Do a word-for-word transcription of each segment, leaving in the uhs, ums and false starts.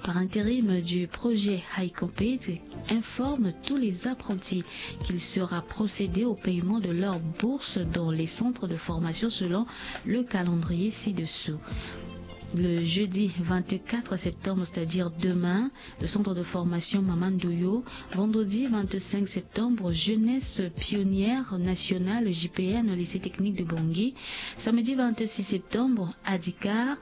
par intérim du projet High Compete informe tous les apprentis qu'il sera procédé au paiement de leur bourse dans les centres de formation selon le calendrier ci-dessous. Le jeudi vingt-quatre septembre, c'est-à-dire demain, le centre de formation Maman Ndoyo. Vendredi vingt-cinq septembre, Jeunesse Pionnière Nationale, J P N, au lycée technique de Bangui. Samedi vingt-six septembre, Adika,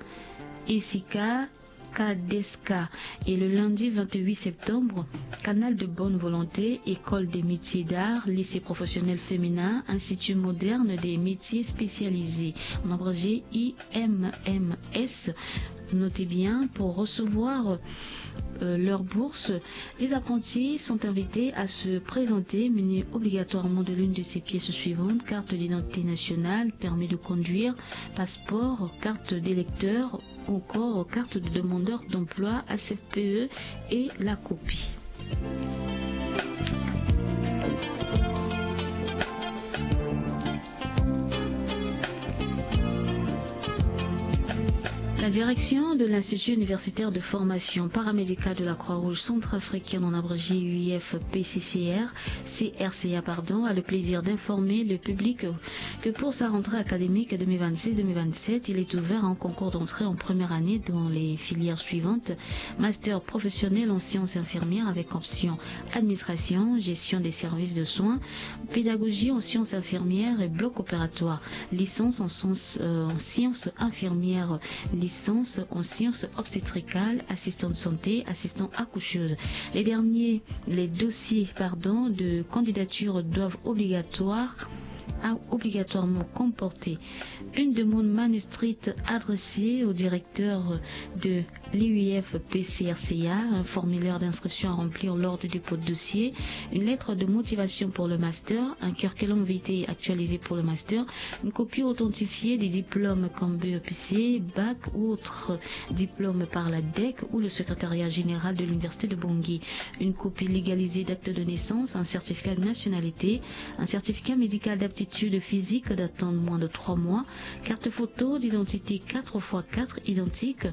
Esika, Kadeska. Et le lundi vingt-huit septembre, Canal de bonne volonté, École des métiers d'art, lycée professionnel féminin, Institut moderne des métiers spécialisés. En abrégé, I M M S. Notez bien, pour recevoir, euh, leur bourse, les apprentis sont invités à se présenter muni obligatoirement de l'une de ces pièces suivantes: carte d'identité nationale, permis de conduire, passeport, carte d'électeur ou encore carte de demandeur d'emploi, H F P E, et la copie. La direction de l'Institut universitaire de formation paramédicale de la Croix-Rouge centrafricaine, en abrégé U I F P C C R, C R C A, pardon, a le plaisir d'informer le public que pour sa rentrée académique deux mille vingt-six deux mille vingt-sept, il est ouvert un concours d'entrée en première année dans les filières suivantes: master professionnel en sciences infirmières avec option administration, gestion des services de soins, pédagogie en sciences infirmières et bloc opératoire, licence en sciences, euh, en sciences infirmières, licence en sciences obstétricales, assistant de santé, assistant accoucheuse. Les derniers, les dossiers, pardon, de candidature doivent obligatoire, a-, obligatoirement comporter une demande manuscrite adressée au directeur de l'I U I F P C R C A, un formulaire d'inscription à remplir lors du dépôt de dossier, une lettre de motivation pour le master, un curriculum vitae actualisé pour le master, une copie authentifiée des diplômes comme B E P C, bac ou autre diplôme par la DEC ou le secrétariat général de l'Université de Bangui, une copie légalisée d'acte de naissance, un certificat de nationalité, un certificat médical d'aptitude physique datant de moins de trois mois, carte photo d'identité quatre fois quatre identique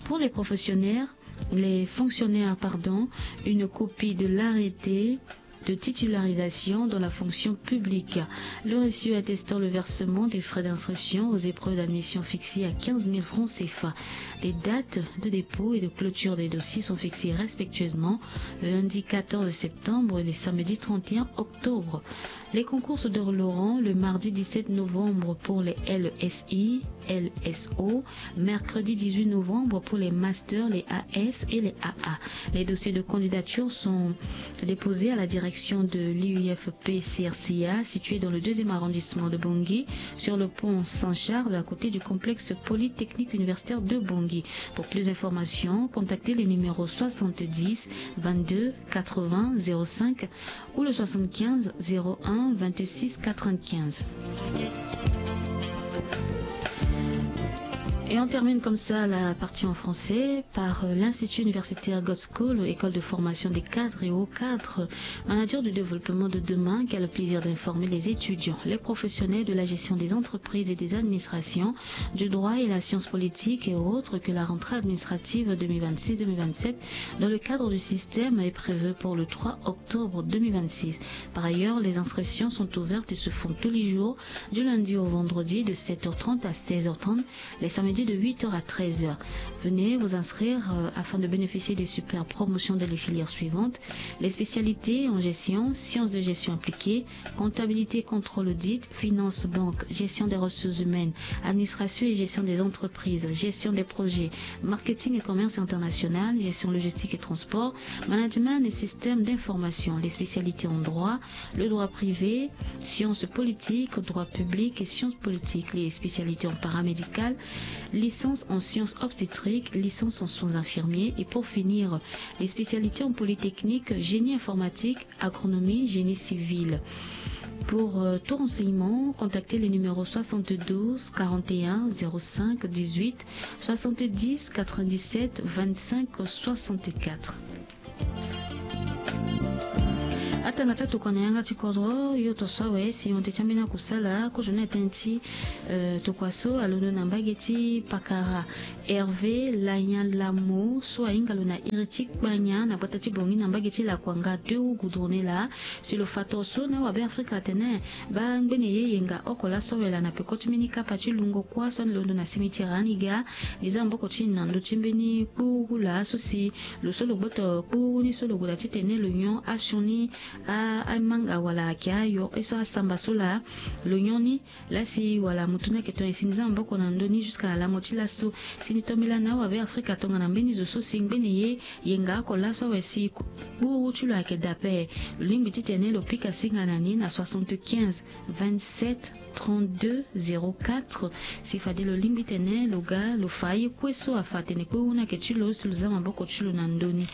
pour les professionnels, les fonctionnaires, pardon, une copie de l'arrêté de titularisation dans la fonction publique, le reçu attestant le versement des frais d'inscription aux épreuves d'admission fixées à quinze mille francs C F A. Les dates de dépôt et de clôture des dossiers sont fixées respectueusement le lundi quatorze septembre et le samedi trente et un octobre. Les concours se dérouleront le mardi dix-sept novembre pour les L S I, L S O, mercredi dix-huit novembre pour les masters, les A S et les A A. Les dossiers de candidature sont déposés à la direction de l'I U I F P C R C A, située dans le deuxième arrondissement de Bangui, sur le pont Saint-Charles, à côté du complexe polytechnique universitaire de Bangui. Pour plus d'informations, contactez les numéros soixante-dix, vingt-deux, quatre-vingts, zéro cinq ou le soixante-quinze, zéro un, vingt-six, quatre-vingt-quinze. Et on termine comme ça la partie en français par, euh, l'Institut universitaire God's School, école de formation des cadres et hauts cadres, manager du développement de demain, qui a le plaisir d'informer les étudiants, les professionnels de la gestion des entreprises et des administrations, du droit et la science politique et autres que la rentrée administrative deux mille vingt-six deux mille vingt-sept dans le cadre du système est prévue pour le trois octobre deux mille vingt-six. Par ailleurs, les inscriptions sont ouvertes et se font tous les jours, du lundi au vendredi de sept heures trente à seize heures trente, les samedis de huit heures à treize heures. Venez vous inscrire, euh, afin de bénéficier des super promotions dans les filières suivantes: les spécialités en gestion, sciences de gestion appliquée, comptabilité, contrôle, audit, finance, banque, gestion des ressources humaines, administration et gestion des entreprises, gestion des projets, marketing et commerce international, gestion logistique et transport, management et système d'information, les spécialités en droit, le droit privé, sciences politiques, droit public et sciences politiques, les spécialités en paramédical, licence en sciences obstétriques, licence en soins infirmiers et pour finir, les spécialités en polytechnique, génie informatique, agronomie, génie civil. Pour, euh, tout renseignement, contactez les numéros soixante-douze, quarante et un, zéro cinq, dix-huit, soixante-dix, quatre-vingt-dix-sept, vingt-cinq, soixante-quatre. Atanga ti atokua na yanga ti kodro yo to so awe si honte ti ambeni akusala kozo ni atene ti, eh, tokua so alondo na mbage ti pakara Hervé Lanyalamo so ahinga lo na iri ti kpanya na gbata ti Bongi na mbage ti Lakuanga deux roues goudronnées laa. Si lo fa toro so na awabe Afrika atene baa ngbene ye yenga oko laso awe laa na peko ti mbeni kapa ti lungo kuâ so alondo na cimetière Aniga. Li za maboko ti na ndö ti mbeni kpuru laa so si lo so lo gboto kpuru ni so lo goda titene lo nyon asioni amanga wala ayeke ayo ye so asamba so laa lo nyon ni. Laa si wala mutu ni ayeke ton e si ni za maboko na ndö ni jusqu'à lango ti laso. Si ni tombela na awabe Afrika tongana mbeni zo so si ngbene ye yenga oko laso awe si kpuru ti lo ayeke daa ape. Lo lingbi titene lo pika singa na ni na soixante-quinze vingt-sept trente-deux zéro quatre. Si fade lo lingbi tene lo ga lo fa aye kue so afa atene kpuru ni ayeke ti lo si lo za maboko ti lo na ndö ni.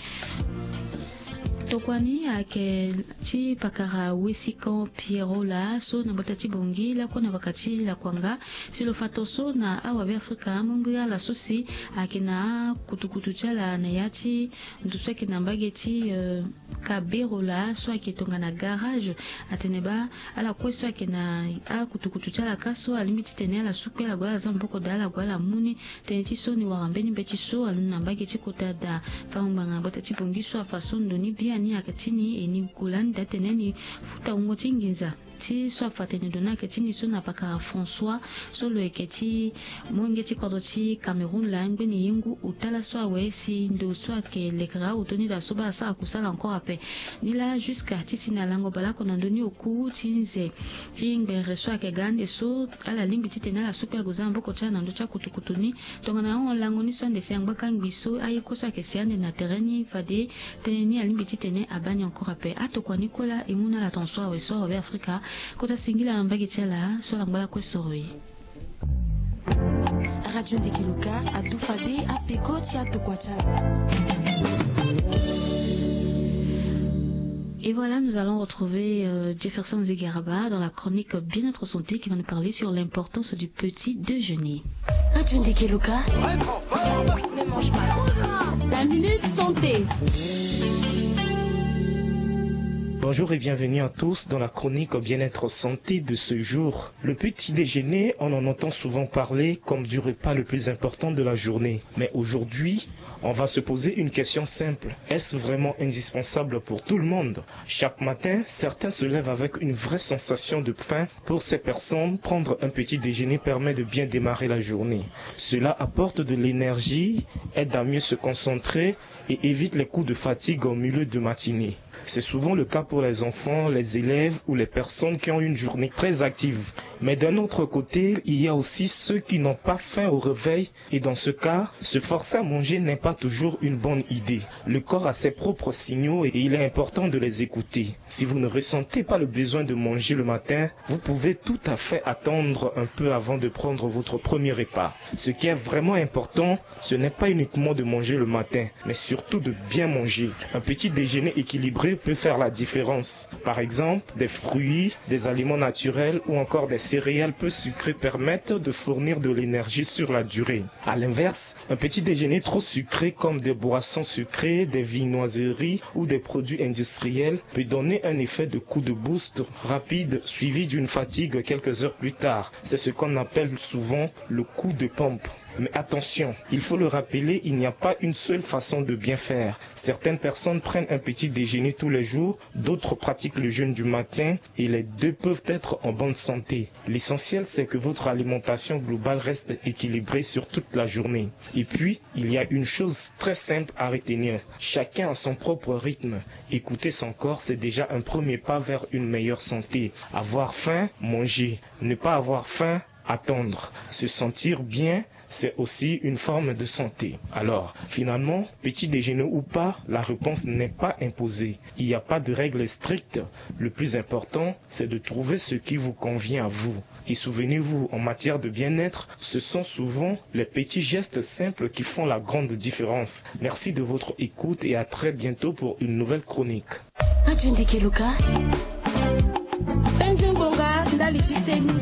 Tokua ni ayeke ti pakara Wesikan Pierrot laa so na gbata ti Bongi lakue na vaka ti Lakuanga. Si lo fa toro so na awabe Afrika amongbi ala so si ayeke na akutukutu ti ala na ya ti ndo so ayeke na mbage ti, eh, Kabero laa so ayeke tongana garage. Atene baa ala kue so ayeke na akutukutu ti ala kâ so alingbi titene ala sukpe ala gue ala za maboko daa ala gue ala mu ni. Tënë ti so ni wara mbeni mbeti so alondo na mbage ti kota daa. Fango ngbanga gbata ti Bongi so afa so ndo ni biani ayeke ti ni e ni gue lani daa tene ni futa wungo ti nginza ti so afa atene ndo ni ayeke ti ni so na pakara François so lo yeke ti molenge ti kodro ti Cameroun laa ngbene ye ngu ota laso awe si ndo so ayeke lekere aoto ni daa so baa asara kusala encore ape. Ni laa jusqu'à ti si na lango baleoko na ndö ni oku ti nze ti ngbere so ayeke ga ande so ala lingbi titene ala sukpe ague za maboko ti ala na ndö ti akutukutu ni. Tongana ahon lango ni so ande si angbaka ngbi so aye kue so ayeke si ande na tere ni fade tënë ni alingbi titene abaa ni encore ape. Atokua ni kue laa e mu na ala tongaso awe so awabe Afrika kota singila na mbage ti ala so ala ngba lakue soro e. Radio Ndegeloka adu fade apeko ti atokua ti ala. Et voilà, nous allons retrouver, euh, Jefferson Zigaraba dans la chronique Bien-être Santé qui va nous parler sur l'importance du petit déjeuner. Radio Ndegeloka. La minute santé. Bonjour et bienvenue à tous dans la chronique Bien-être Santé de ce jour. Le petit déjeuner, on en entend souvent parler comme du repas le plus important de la journée. Mais aujourd'hui, on va se poser une question simple. Est-ce vraiment indispensable pour tout le monde ? Chaque matin, certains se lèvent avec une vraie sensation de faim. Pour ces personnes, prendre un petit déjeuner permet de bien démarrer la journée. Cela apporte de l'énergie, aide à mieux se concentrer et évite les coups de fatigue au milieu de matinée. C'est souvent le cas pour les enfants, les élèves ou les personnes qui ont une journée très active. Mais d'un autre côté, il y a aussi ceux qui n'ont pas faim au réveil et dans ce cas, se forcer à manger n'est pas toujours une bonne idée. Le corps a ses propres signaux et il est important de les écouter. Si vous ne ressentez pas le besoin de manger le matin, vous pouvez tout à fait attendre un peu avant de prendre votre premier repas. Ce qui est vraiment important, ce n'est pas uniquement de manger le matin, mais surtout de bien manger. Un petit déjeuner équilibré peut faire la différence. Par exemple, des fruits, des aliments naturels ou encore des céréales peu sucrées permettent de fournir de l'énergie sur la durée. À l'inverse, un petit déjeuner trop sucré comme des boissons sucrées, des viennoiseries ou des produits industriels peut donner un effet de coup de boost rapide suivi d'une fatigue quelques heures plus tard. C'est ce qu'on appelle souvent le coup de pompe. Mais attention, il faut le rappeler, il n'y a pas une seule façon de bien faire. Certaines personnes prennent un petit déjeuner tous les jours, d'autres pratiquent le jeûne du matin et les deux peuvent être en bonne santé. L'essentiel, c'est que votre alimentation globale reste équilibrée sur toute la journée. Et puis, il y a une chose très simple à retenir. Chacun a son propre rythme. Écouter son corps, c'est déjà un premier pas vers une meilleure santé. Avoir faim, manger. Ne pas avoir faim, attendre. Se sentir bien, c'est aussi une forme de santé. Alors, finalement, petit déjeuner ou pas, la réponse n'est pas imposée. Il n'y a pas de règle stricte. Le plus important, c'est de trouver ce qui vous convient à vous. Et souvenez-vous, en matière de bien-être, ce sont souvent les petits gestes simples qui font la grande différence. Merci de votre écoute et à très bientôt pour une nouvelle chronique. Radio Ndegeloka. Penze ngonga ndali ti seni.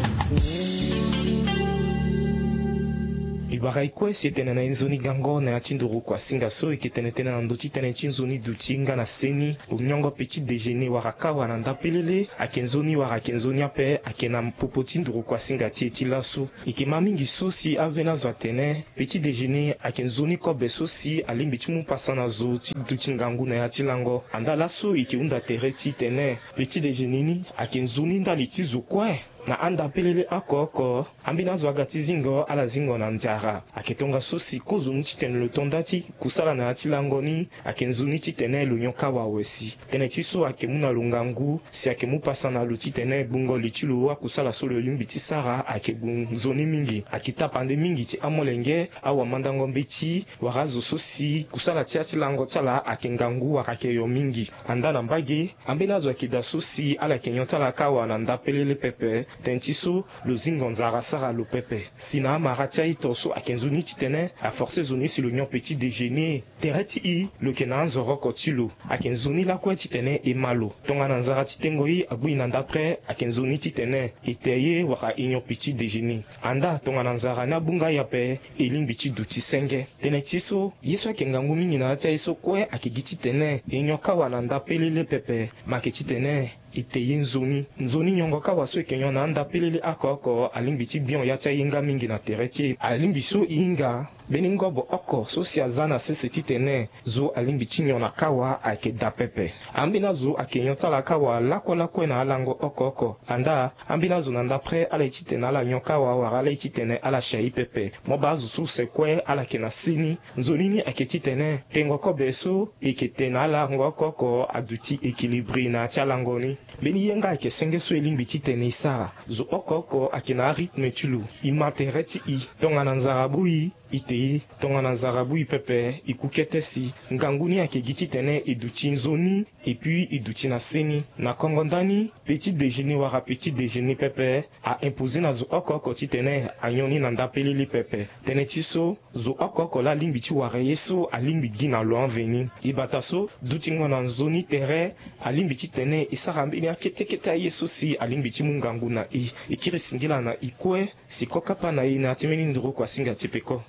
E bara e kue si e tene na e nzoni gango na ya ti nduru kuasinga so e ke tene tënë na ndö ti tënë ti nzoni duti nga na seni. Lo nyongo petit déjeuner wala kawa na ndapelele ayeke nzoni wala ayeke nzoni ape ayeke na popo ti nduru kuasinga ti e ti laso. E ke ma mingi so si ambeni azo atene petit déjeuner ayeke nzoni kobe so si alingbi ti mu pasa na zo ti duti ngangu na ya ti lango. Andaa laso e ke hunda tere titene petit déjeuner ni ayeke nzoni ndali ti zo kue. Na andapelele oko oko, ambeni azo aga ti zingo ala zingo na nzara. Ayeke tongaso si kozoni titene lo to nda ti kusala na ya ti lango ni ayeke nzoni titene lo nyon kawa awe si. Tënë ti so ayeke mu na lo ngangu si ayeke mu pasa na lo titene gbungo li ti lo akusala so lo lingbi ti sara ayeke gbu nzoni mingi. Ayeke tapande mingi ti amolenge, awamandango mbeti wala azo so si kusala ti ya ti lango ti ala ayeke ngangu wala ayeke yo mingi. Andaa na mbage, ambeni azo ayeke daa so si ala yeke nyon ti ala kawa na ndapelele pepe. Tënë ti so, lo zingo nzara asara lo pepe. Si na amara ti a-ito so ayeke nzoni titene aforce zo ni si lo nyon petit déjeuner. Tere ti e, lo yeke na anzoro oko ti lo. Ayeke nzoni lakue titene e ma lo. Tongana nzara ti tengo e agbu e na ndapre ayeke nzoni titene e te ye wala e nyon petit déjeuner. Andaa tongana nzara ni agbu nga e ape, e lingbi ti duti senge. Tënë ti so, ye so ayeke ngangu mingi na ya ti aye so kue ayeke gi titene e nyon kawa na ndapelele pepe. Ma ayeke titene e te ye nzoni. Nzoni nyongo kawa so e yeke nyon na andapelele oko oko alingbi ti bion ya ti aye nga mingi na tere ti e. Alingbi so e hinga mbeni ngobo oko so si aza na sese titene zo alingbi ti nyon na kawa ayeke daa pepe. Ambeni azo ayeke nyon ti ala kawa lakue lakue na alango oko oko. Andaa, ambeni azo na ndapre ala ye titene ala nyon kawa wala ala ye titene ala si aye pepe. Mo baa azo so use kue ala yeke na seni. Nzoni ni ayeke titene tengo kobe so e yeke te na alango oko oko aduti équilibré na ya ti alango ni. Mbeni ye nga ayeke senge so e lingbi titene e sara. Zo oko oko ayeke na arythme ti lo. E ma tere ti e. Tongana nzara abu e, e te ye. Tongana nzara abu e pepe, e ku kete si. Ngangu ni ayeke gi titene e duti nzoni, et puis e duti na seni. Na kongo ndani, petit déjeuner wala petit déjeuner pepe a imposer na zo oko oko titene anyon ni na ndapelele pepe. Tënë ti so, zo oko oko laa alingbi ti wara ye so alingbi gi na lo anveni. E bata so, dutingo na nzoni tere alingbi titene e sara mbeni akete kete aye so si alingbi ti mu ngangu na e. E kiri singila na e kue si kokapa na e na ya ti mbeni nduru kuasinga ti peko.